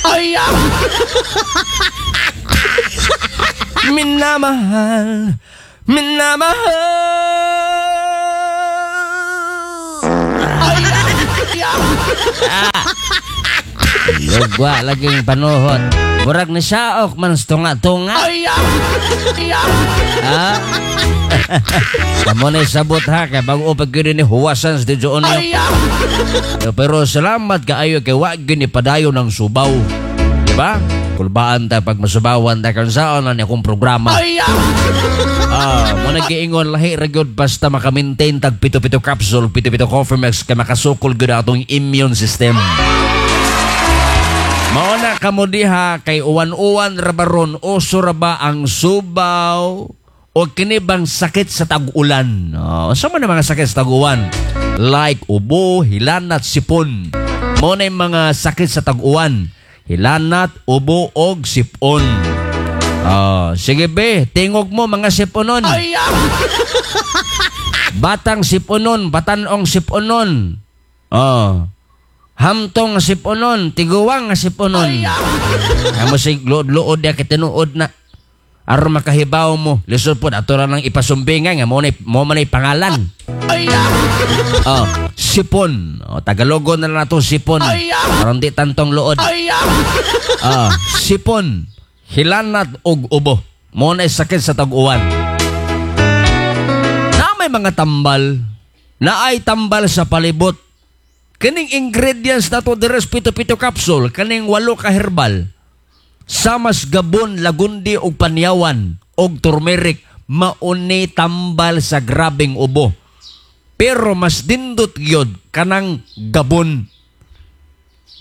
Ay! Minamahal, minamahal. Lugwa laging panuhot. Murag ni saok man sa tunga-tunga. Ha? Kamo na sabot ha, kay bago pag gyud ni huwasan sa Studio Onyo. Pero salamat kaayo kay wa gyud ni padayon ng subaw. Di ba? Kulbaan ta pag masubawan ta kan saon na ni akong programa. Ah, mo nagiingon lahi ra gyud basta maka-maintain tag pito-pito capsule, pito-pito coffee mix kay makasukol gyud atong immune system. Mao na kamo diha kay uwan-uwan ra ba ron, uso ra ba ang subaw o kini bang sakit sa tag-ulan? Oh, unsa man ang mga sakit sa tag-uwan? Like ubo, hilanat, sipon. Mao na yung mga sakit sa tag-uwan. Hilanat, ubo og sipon. Oh, sige be, tingog mo mga siponon. Batang siponon, batanong siponon. Oh. Hamtong nga siponon, tiguwang nga siponon. Amo sig luod-luod ya kitinuod na. Aron makahibaw mo, lisod po ato ra nang ipasumbingan nga mo na mo man ay pangalan. Oh, sipon. Oh, Tagalogon na lang nato sipon. Aron di tantong luod. Ah, sipon, hilanat og ubo. Mo na sakit sa tag-uwan. Na may mga tambal, na ay tambal sa palibot. Kining ingredients na to deres pito-pito capsule, kaning 8 ka herbal. Samas gabon, lagundi og panyawan og turmeric, mauni tambal sa grabeng ubo. Pero mas dindot gyud kanang gabon.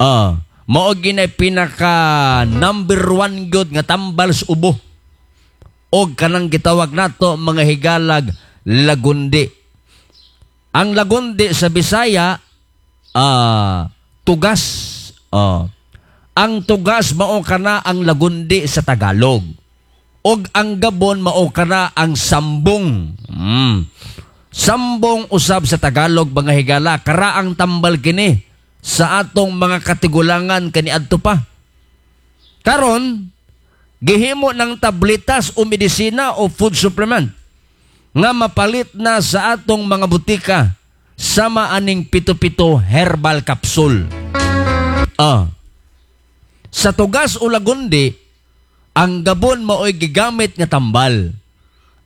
Ah, mao ginay pinaka number 1 gyud nga tambal sa ubo. Og kanang gitawag nato mga higalag lagundi. Ang lagundi sa Bisaya, tugas. Ang tugas mao kana ang lagundi sa Tagalog. Og ang gabon mao kana ang sambong. Sambong usab sa Tagalog mga higala, karaang tambal kini sa atong mga katigulangan kaniadto pa. Karon gihimo ng tabletas o medisina o food supplement nga mapalit na sa atong mga butika sama aning pito-pito herbal capsule. Sa tugas o lagundi, ang gabon mao'y gigamit nga tambal.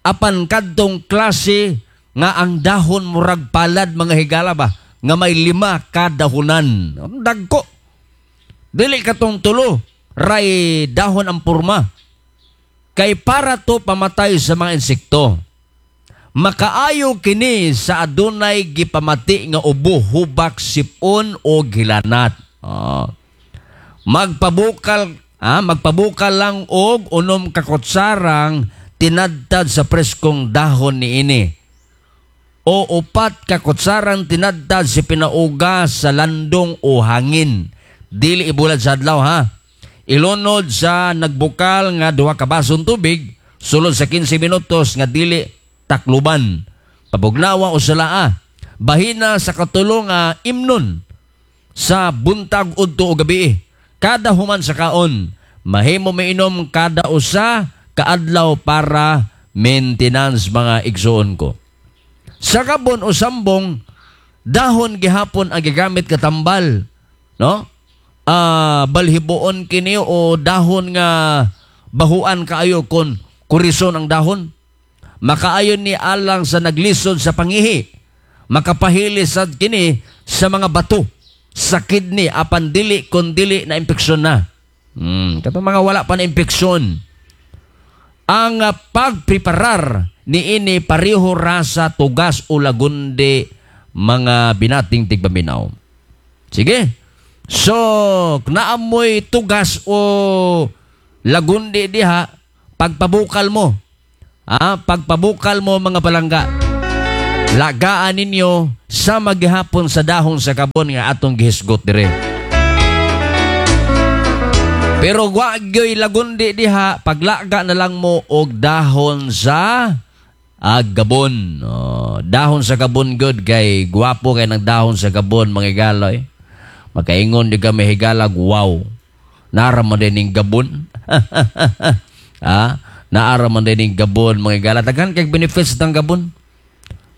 Apan kadtong klase nga ang dahon murag palad mga higala ba, nga may 5 kadahonan. Ang dagko. Dili katong tulo, ray dahon ang purma. Kay para to pamatay sa mga insekto. Makaayo kini sa adunay gipamati nga ubo, hubak, sipon o gilanat. Magpabukal lang og unom ka kutsarang tinadtad sa preskong dahon niini. O 4 ka kutsarang tinadtad si pinauga sa landong o hangin. Dili ibulad sa adlaw ha. Ilunod sa nagbukal nga 2 ka basong tubig sulod sa 15 minutos nga dili takluban. Pabugnawa o salaa. Bahina sa katulo nga imnon sa buntag udto o gabi. Kada human sa kaon, mahimo mainom kada usa kaadlaw para maintenance mga igsuon ko. Sa gabon o sambong, dahon gihapon ang gigamit katambal, no? Balhiboon kini o dahon nga bahuan kaayo kon kurison ang dahon. Makaayon ni alang sa naglisod sa pangihi. Makapahili sad kini sa mga bato sa kidney apan dili kon dili na impeksyon na. Katong mga wala pa na impeksyon. Ang pagpreparar niini pareho ra sa tugas o lagundi mga binating tigpaminaw. Sige. So, naamoy tugas o lagundi diha, pagpabukal mo. Pagpabukal mo mga palangga. Lagaan ninyo sa maghapon sa dahon sa kabon nga atong gihisgot dire. Pero wa gyoy lagundi diha, paglaga na lang mo og dahon sa gabon. Oh, dahon sa gabon good kay gwapo kay nang dahon sa gabon mga higaloy. Makaingon di kami higalag wow. Naara man din ning gabon. Ah, naara man din ning gabon, mga higala. Daghan kay benefits ng gabon.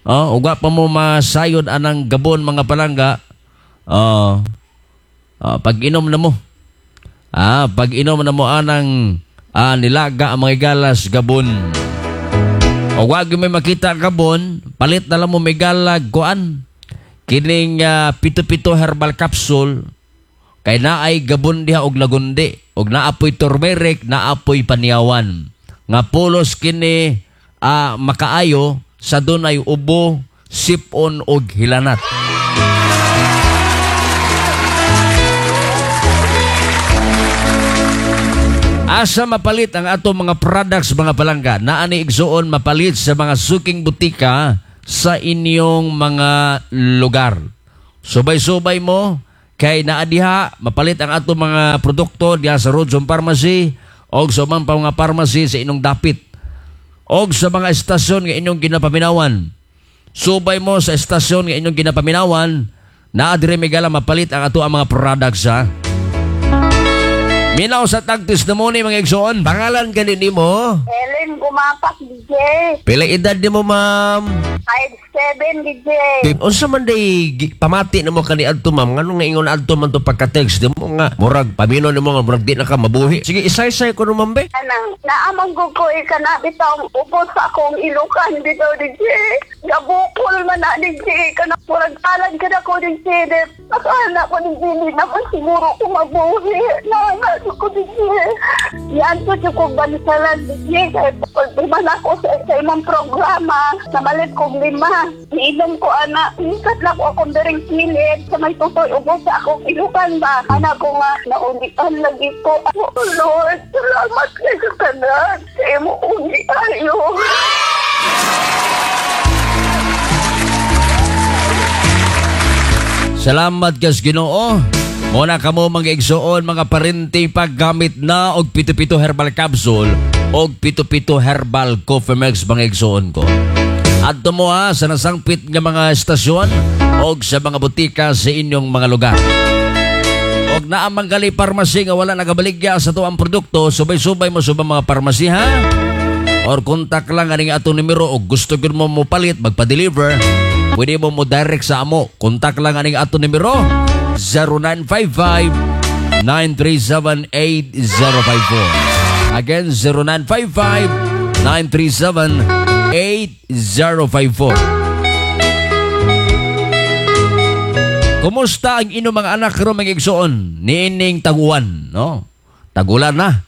Oh, ug wa pa mo masayod anang gabon, mga palangga. Oh, oh, pag inom na mo. Ah, pag inom na mo anang nilaga ang mga higalas gabon. O wag may makita gabon, palit na lang mo migalag kuan. Kining pito-pito herbal capsule kay naay gabon diha og lagundi, og naapoy turmeric, naapoy paniawan. Nga pulos kini makaayo sa dunay ubo, sipon og hilanat. Asa mapalit ang ato mga products, mga palangga? Naa ni igsuon mapalit sa mga suking butika sa inyong mga lugar. Subay-subay mo kay naa diha mapalit ang ato mga produkto diha sa Rodzone Pharmacy og sa ubang pa mga pharmacy sa inyong dapit og sa mga estasyon nga inyong ginapaminawan. Subay mo sa estasyon nga inyong ginapaminawan, naa diri migala mapalit ang ato ang mga products ha. Minaw sa tag testimony, mga igsoon. Pangalan gani nimo? Helen Gumapak, DJ. Pila edad nimo, ma'am? 5'7", DJ. Unsa man day pamati nimo kani adto, ma'am? Nganong nga ingon adto man to pagka-text nimo nga murag pamino nimo nga murag di na ka mabuhi? Sige, isay-isay ko no, ma'am be. Anang, naamang ko kana bitaw ubos sa akong ilukan bitaw, DJ. Gabukol man na, DJ. Kana murag talag ka na ko, DJ. Akala ko, DJ, di naman siguro ko mabuhi. Naanga ko, DJ. Yan po siya kong bansalan, DJ. Kaya pag ako sa imong programa, namalit kong 5. Iinom ko, ana. Ikat lang ko akong daring kilid. Sa may tutoy, ubos sa akong ilukan ba? Anak ko nga, naulian lagi ko. Oh, Lord, salamat kay sa tanan. Sa imong uli ayo. Salamat kas Ginoo. Muna kamo mga igsoon, mga parente, paggamit na og pito-pito herbal capsule og pito-pito herbal coffee mix, mga igsoon ko. Adto mo ha sa nasangpit nga mga estasyon og sa mga butika sa inyong mga lugar. Og naamang gali parmasi nga wala nagabaligya sa tuang produkto, subay-subay mo sa mga parmasi ha. Or kontak lang aning atong numero og gusto gyud mo mopalit, magpa-deliver, pwede mo mo direct sa amo. Kontak lang aning atong numero 0955-937-8054. Again, 0955-937-8054. Kumusta ang inyong mga anak karon, mga igsoon? Niining taguan, no? Tagulan na.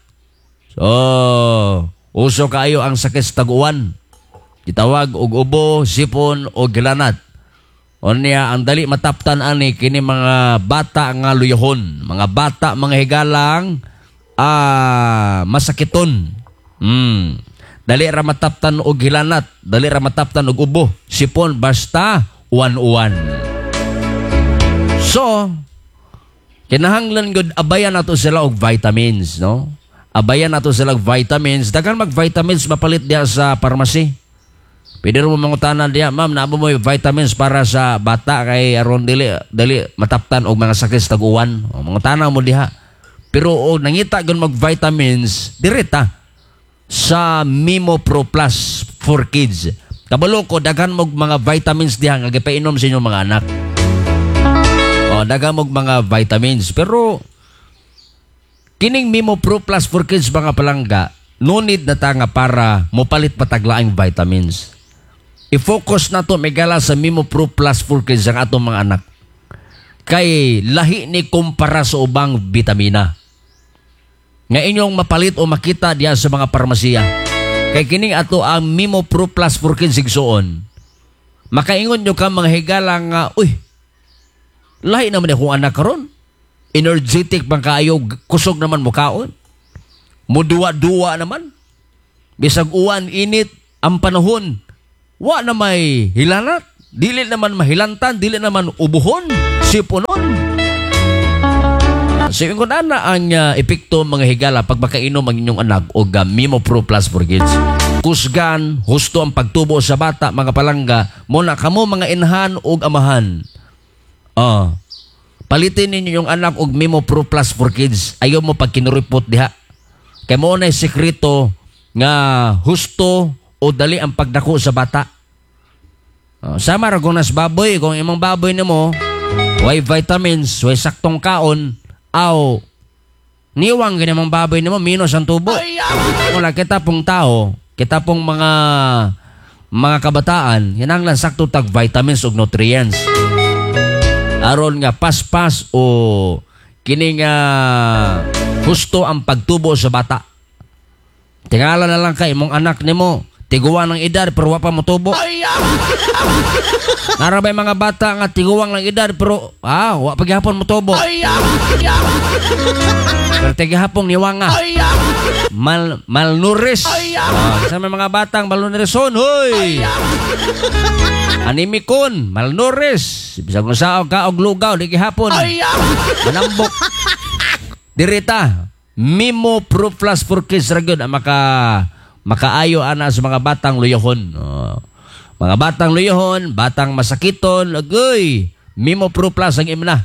So, uso kaayo ang sakit sa taguan. Gitawag og ubo, sipon o gilanat. Unya ang dali mataptan ani kini mga bata nga luyahon, mga bata mga higalang masakiton. Dali ra mataptan og hilanat, dali ra mataptan og ubo, sipon, basta uwan-uwan. So, kinahanglan gud abayan nato sila og vitamins, no? Abayan nato sila og vitamins. Daghan mag vitamins mapalit diha sa pharmacy. Pwede mo mangutanan diha, ma'am, naamo mo yung vitamins para sa bata kay aron dili dali mataptan og mga sakit sa tag-uwan. O, mangutana mo diha. Pero og nangita gyud mag vitamins, direta sa Mimo Pro Plus for Kids. Kabalo ko daghan mog mga vitamins diha nga gipainom sa inyong mga anak. O, daghan mog mga vitamins. Pero kining Mimo Pro Plus for Kids, mga palangga, no need na ta nga para mopalit pataglaing vitamins. I-focus na to megala sa Mimo Pro Plus for Kids ang atong mga anak. Kay lahi ni kumpara sa ubang vitamina nga inyong mapalit o makita diya sa mga parmasiya. Kay kining ato ang Mimo Pro Plus for Kids igsuon. Makaingon nyo ka mga higala nga, uy, lahi naman akong anak karon. Energetic bang kaayo, kusog naman mukaon. Muduwa-duwa naman. Bisag uwan, init, ang panahon, wa na may hilanat. Dili naman mahilantan, dili naman ubuhon, sipunon. So ingon ana ang epekto mga higala pag makainom ang inyong anak og Mimo Pro Plus for Kids. Kusgan, husto ang pagtubo sa bata mga palangga, muna kamo mga inahan og amahan. Palitin ninyo yung anak og Mimo Pro Plus for Kids. Ayaw mo pag kinuripot diha. Kay mo na sekreto nga husto o dali ang pagdako sa bata. Oh, sama ra kung nas baboy, kung imong baboy nimo way vitamins, way saktong kaon, aw niwang gani mong baboy nimo, minus ang tubo. Wala kita pong tao, kita pong mga kabataan, kinahanglan sakto tag vitamins ug nutrients. Aron nga paspas o kini nga husto ang pagtubo sa bata. Tingala na lang kay imong anak nimo, tiguan ng edad pero wa pa motubo. Nara ba'y mga bata nga tiguang ng edad pero wa pa gihapon motubo. Pero tigihapon niwanga. Malnourished. Sa may mga batang malnourished, hoy. Anemikon, malnourished. Bisag unsa ka og lugaw di gihapon. Manambok. Dirita, Mimo Pro Plus for Kids ra gyud ang makaayo ana sa mga batang luyahon. Oh. Mga batang luyahon, batang masakiton, agoy. Mimo Pro Plus ang imna.